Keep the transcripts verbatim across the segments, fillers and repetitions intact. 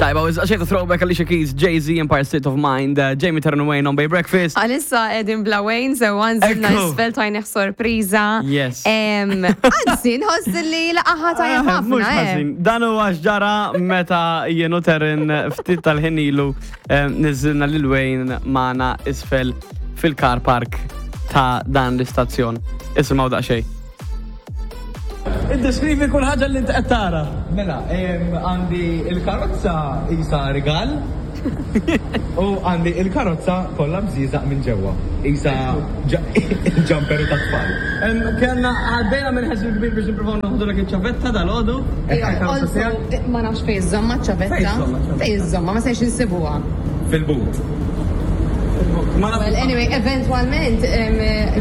Tajba, xejta throwback Alicia Keys, Jay-Z, Empire State of Mind, uh, Jamie Taryn Wayne on Bay Breakfast. Għalissa qegħdin bla Wayne, so nżilna Ekku. isfel tajnieh sorpriża. Yes. Em, Anzi, nħoss li laqaha tajjeb Ah, Mhux ħafna, eh. ħażin. Dan huwa x'ġara meta jien u Taryn ftit tal-ħin ilu eh, niżilna lil Wayne magħna isfel fil-car park ta' dan l-istazzjon. Isimgħu daqsxejn. Iddeskrivi kull ħaġa li inti qed tara. Mela, em, għandi il-karozza isa rigal u għandi il-karozza kollha bżieżaq minn ġewwa. Isa ġamperu ta' tfal. Kellna għaddejna minn ħessil kbir biex nippruvaw noħodulek iċ-ċavetta dal-għodu. Also, ma nafx fej iżżommha ċavetta. Fej iżżommha ċavetta? Fej iżżommha, ma sejx insibuha. Fil-but. Ma nafx. Well, anyway, eventualment em,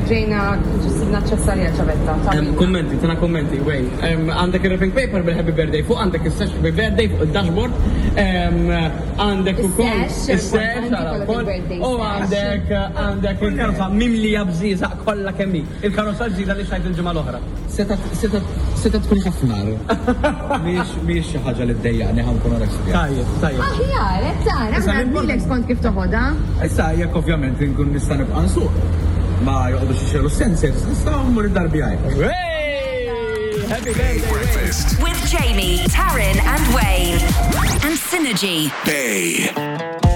ġejna ġisibna ċessarja ċavetta. Em, Kummenti, tina kummenti, Wayne. Em, Għandek il-wrapping paper bil-happy birthday fuq, għandek il-sash happy birthday fuq il-dashboard, em, għandek ukoll Is-sash, is-sash, importanti ara kollok wkoll, il-birthday u sash. għandek għandek il-karozza mimlija bżieżaq kollha kemm hi. Il-karozza ġdida li xtrajt il-ġimgħa l-oħra. Seta seta tkun ħafna. Mhix mhix xi ħaġa li ddejjaqni ħa nkun onest. Tajjeb, tajjeb. Aħjar, qed tara, Issa aħna l-important- lilek skont kif toħodha. Issa jekk ovvjament nkun nista' nibqa' nsuq. Ma joqogħdux ixegħlu sensors, nista' mmur id-dar biegħi. Hey! Happy birthday, Wayne. Breakfast. With Jamie, Taryn, and Wayne. And Synergy. Bay.